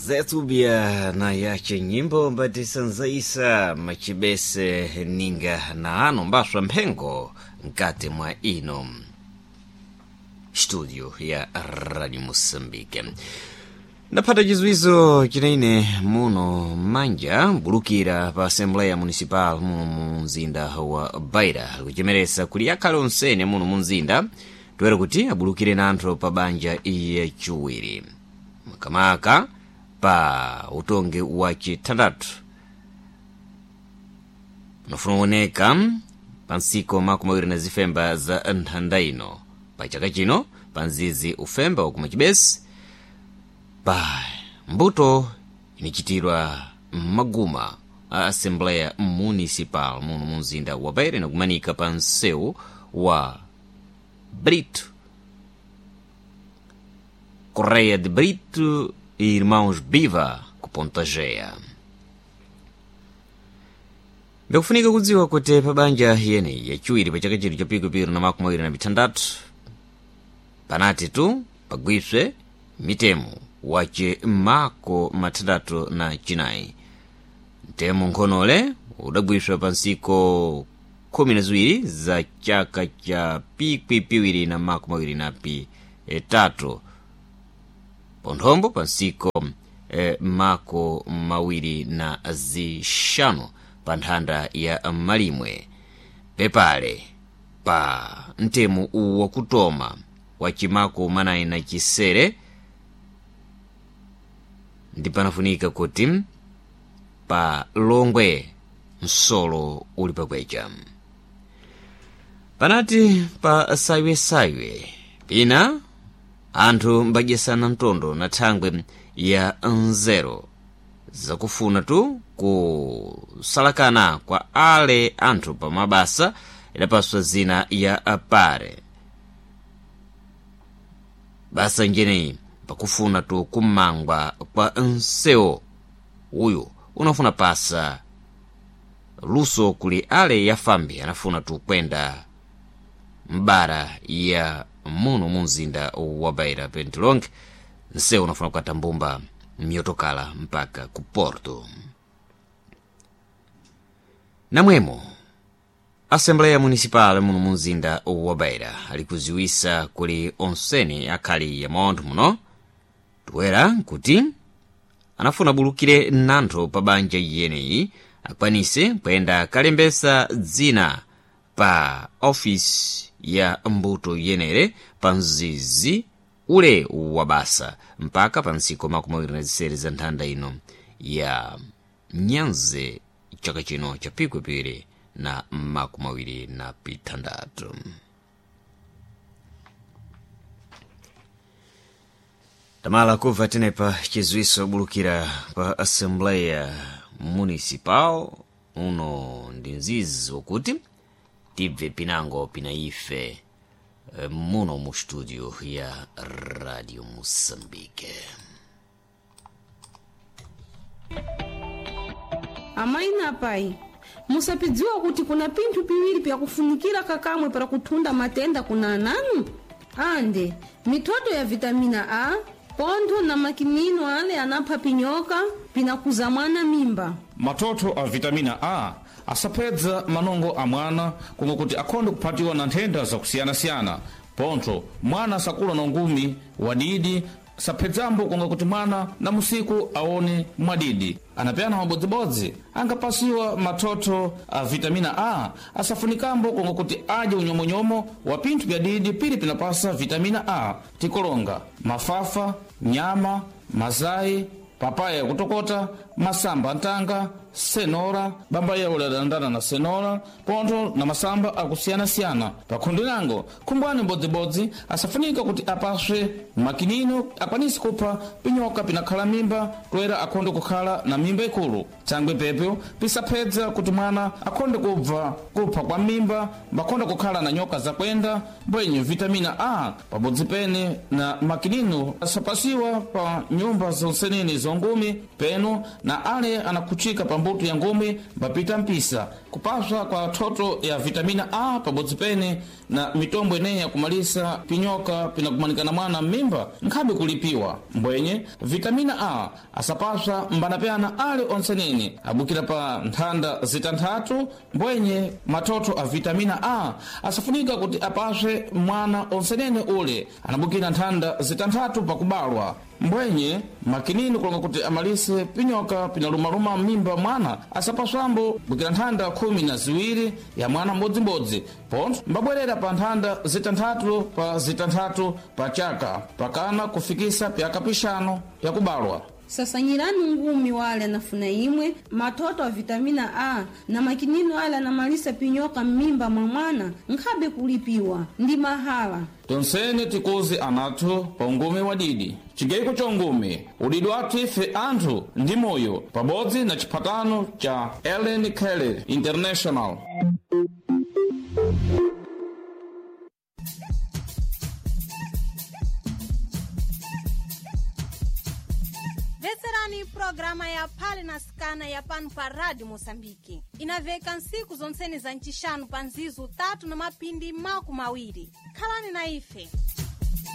Zetubia na yache nyimbo mbatisanzaisa machibese ninga na ano mbaswa mphengo mkati mwa ino studio ya Radio Mosambike. Ndaphata chizwizo chinaine muno manja mbulukira pa Assembleia Municipal muno mu mzinda wa Beira, kuchemeresa kuli akhale onsene muno mu mzinda toera kuti abulukire nanthu pa banja yachiwiri makamaka pa utongi wa chithandathu unafuna kuoneka pa ntsiko makumi awiri na zifemba za nthanda ino pa chaka chino pa mzizi ufemba wakuma chibesi pa mbuto inichitirwa m'maguma a Assembleia Municipal muno mu mzinda wa Beira inakumanika pa msewu wa Brito Correia de Brito e Irmãos Biva ku Ponta Gea. Ndikufunika kudziwa kuti pa banja yeneyi yachiwiri pa chaka chino cha pikupiri na makumi awiri na mithandathu panati tu pagwiswe mitemo wace mako mathandathu na chinayi. Mtemo nkhonole udagwiswa pa ntsiko 12 za chaka cha pikwi na makumi awiri na pitatu ponthombo pa ntsiko mako mawiri na zixanu pa nthanda ya malimwe pepale pa mtemo wakutoma wa chimako manayi na chisere ndi panafunika kuti pa longwe msolo uli pakwecha. Panati pa saywesaywe pina anthu mbadyesana mtondo na thangwe ya nzeru zakufuna tu kusalakana kwa ale anthu pa mabasa idapaswa zina ya pare basa njeneyi pakufuna tu kumangwa kwa nsewo uyu unafuna pasa luso kuli ale yafambi anafuna tu kwenda mbara ya muno mu mzinda wa Beira pentilonge nsewu unafuna kukata mbumba myotokala mpaka ku Porto. Namwemo Assembleia Municipal muno mu mzinda wa Beira alikuziwisa kuli onsene akhali ya maontho muno toera kuti anafuna bulukire nantho pa banja yeneyi akwanise kuyenda kalembesa dzina pa ofisi ya mbuto yenere pa mzizi ule wa basa mpaka pa ntsiko makumi awiri na zisere za nthanda ino ya nyanze chaka chino cha pikwipiri na makumi awiri na pithandathu. Tamala kubva tenepa chizwiso bulukira pa Assembleia Municipal uno ndi mzizi wakuti tibve pinango pina ife muno mu studio ya Radio Mosambike. Amayi na apai, musapidziwa kuti kuna pinthu piwiri pyakufunikira kakamwe para kuthunda matenda kuna ananu ande mithoto ya vitamina A pontho na makinino ale anapha pinyoka pinakuza mwana mimba. Matoto a vitamina A asapedza manongo a mwana komwe kuti akhonde kuphatiwa na nthenda zakusiyanasiyana. Pontho mwana sakula na ungumi wadidi saphedzambo konga kuti mwana na musiku aone mwadidi. Anapyana mabodzibodzi angapasiwa mathotho a vitamina A asafunikambo konga kuti adye unyomonyomo wa pinthu pya didi pili pinapasa vitamina A tikolonga mafafa, nyama, mazayi, papaya yakutokota, masamba antanga, senora, bamba yawo ladandana na senora, pontho na masamba akusiyanasiyana. Pakhundu nango, khumbwani mbodzibodzi asafunika kuti apaswe makinino akwanise kupha pinyoka pinakhala mimba toera akhonde kukhala na mimba ikulu. Thangwe pepyo pisaphedza kuti mwana akhonde kubva kupha kwa mimba mbakhonde kukhala na nyoka zakwenda mbwenye vitamina A pabodzi pene na makinino asapasiwa pa nyumba zonseneni zongumi peno na ale anakhuchika pambuyo. mbuto ya ngumi mbapita mpisa kupaswa kwa thoto ya vitamina A pabodzi pene na mitombo ineyi yakumalisa pinyoka pinakumanikana mwana m'mimba nkhabe kulipiwa. Mbwenye vitamina A asapaswa mbanapyana ali onsenene abukira pa nthanda zitanthatu. Mbwenye mathotho a vitamina A asafunika kuti apaswe mwana onsenene ule anabukira nthanda zitanthatu pakubalwa. Mbwenye makinini kulonga kuti amalise pinyoka pinalumaluma m'mimba mwana asapaswambo bukira nthanda 12 ya mwana mbodzimbodzi, pontho mbabwerera pa nthanda zitanthatu pa zitanthatu pa chaka pakana kufikisa pyaka pixanu pyakubalwa. Sasanyirani ngumi wale anafuna imwe mathoto a vitamina A na makinino ale anamalisa pinyoka m'mimba mwa mwana nkhabe kulipiwa ndi mahala. Tonsene tikuzi anathu pa ungumi wadidi chigayiko cha ungumi udidi wathu ife anthu ndi moyo pabodzi na chiphatano cha Ellen Kelly International. Mvetserani programa ya Phale na Sikana ya pano pa Rádio Moçambique. Inaveka ntsiku zontsene za ncixanu pa nzizu 3 na mapindi 20. Khalani na ife.